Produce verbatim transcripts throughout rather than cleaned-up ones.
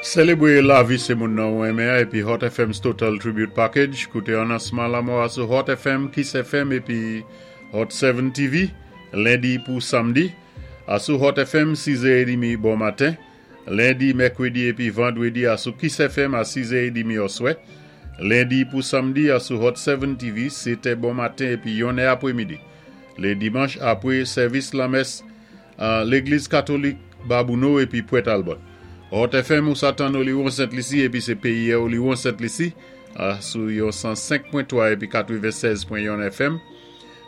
Sélébwé lavi sé moun nan ou enmen épi Hot F M's Total Tribute Package. Kouté anonsman lanmò a sou Hot F M, Kiss F M épi Hot sept T V, lendi pou samdi. A sou Hot F M, sis è trant bon maten. Lendi, mèkwédi épi vandwédi a sou Kiss F M a sis è trant oswè. Lendi pou samdi a sou Hot sept T V, sétè bon maten épi yonnè apwémidi. Lé dimanch apwé sèvis lamès a Légliz Katolik Babouno épi Pwent Albert. Hot F M ou sa tann Oliwon Sent Lisi épi sé péyi Oliwon Sent Lisi sou yon san senk pwen twa épi katwennsèz pwen yon F M.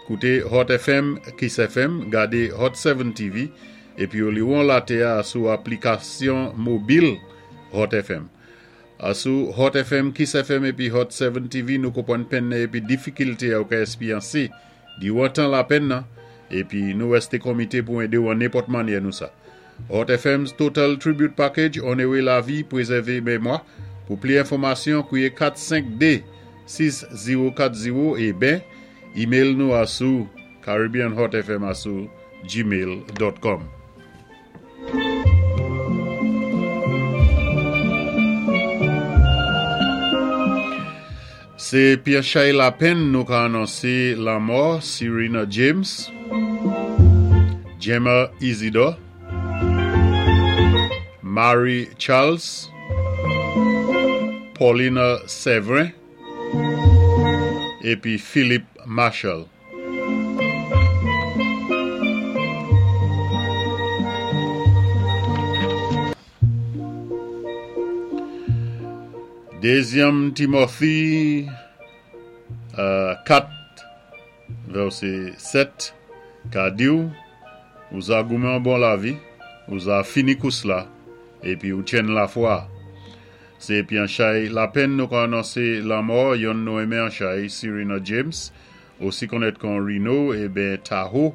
Kouté Hot F M, Kiss F M, gadé Hot sept T V épi Oliwon latè sou aplikasyon mobil Hot F M. Sou Hot F M, Kiss F M épi Hot sept T V, nou konpwann penn épi difikilté ou ka éspéryansé diwan tan lapenn nan épi nou wèsté komité pou édé ou an nenpòt mannyè nou sa. Hot F M's Total Tribute Package, onoré lavi, pwézèvé mémwa. Pou plis enfòmasyon, kwié kat senk de sis zewo kat zewo é ben, email nou a sou caribbeanhotfm a sou gmail pwen com. Sé Pierre Chay Lapenn nou ka anonsé lanmò Serena James, Gemma Isidore, Mary Charles, Paulina Severin, épi Philip Marshall. Dézyèm Timothy euh, kat vèsé sèt ka di-w, ou za goumen bon lavi, ou za fini kous la, épi ou tyenn lafwa. Sé Pianchay Lapenn nou ka anonsé lanmò, yonn nou enmen an chay, Serena James, osi konnèt kon Reno, é ben Tahoe,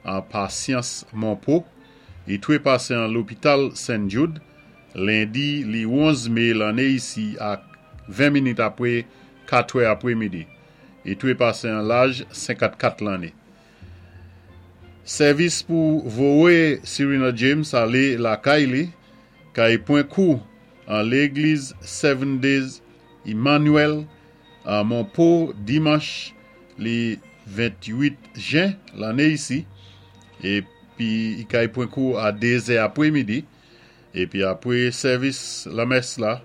an Pasyans Monpo. I twé pasé an lopital Saint Jude, lendi li onz mé lanné isi a ven minit apwé katwè apwémidi. I twé pasé an laj senkannkat lanné. Sèvis pou voyé Serena James alé lakay li, kay pwan kou an légliz Seven Days Emmanuel a Monpo dimanch li venntwit jen lanné isi épi i kay pwan kou a dé zè apwémidi épi apwé sèvis lamès la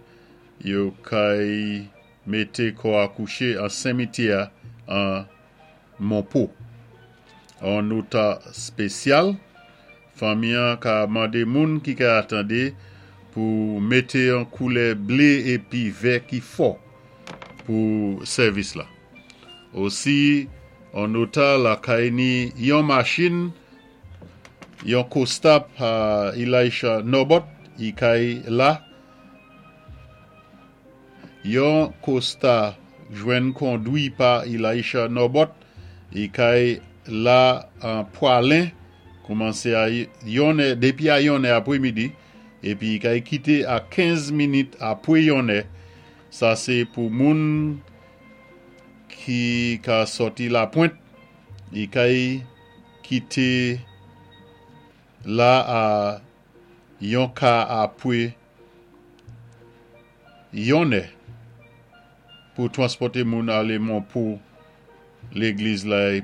yo kay mété kò a kouché an simityè an Monpo. An nota spésyal, fanmi an ka mandé moun ki ka atandé pou mété an koulè blé épi vè ki fò pou sèvis la. Osi, an nota lakay ni yon machin, yon Costa pa Elisha Nobot, i kay la, yon Costa jwenn kondwi pa Elisha Nobot, i kay la an Pwalen, koumansé a yonnè, dépi a yonnè apwémidi, épi i kay kité a kenz minit apwé yonnè, sa sé pou moun ki ka sòti Lapwent, i kay kité la a yon ka apwé yonnè pou twanspòté moun alé Monpo légliz la.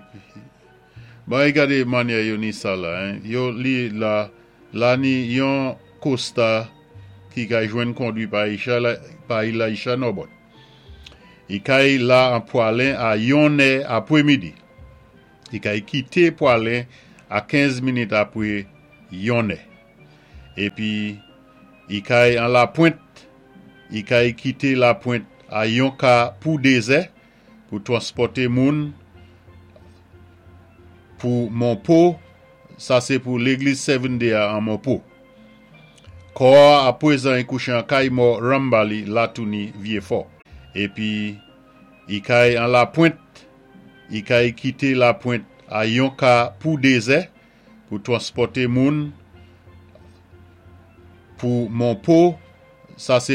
Bon, gadé mannyè yo ni sa la, hein. Yo li la, la ni yon Costa ki kay jwenn kondwi pa Isha, pa Elisha Nobot. I kay la an Pwalen a yonnè apwémidi. I kay kité Pwalen a kenz minit apwé yonnè. Épi i kay an Lapwent, i kay kité Lapwent a yon ka pou dézè pou twanspòté moun pou Monpo, sa sé pou légliz Seven Day an Monpo. Kò a pwézan i kouché an kay mò Rambali Latouni Vyéfò. Épi i kay an Lapwent, i kay kité Lapwent a yon ka pou dézè pou twanspòté moun pou Monpo, sa sé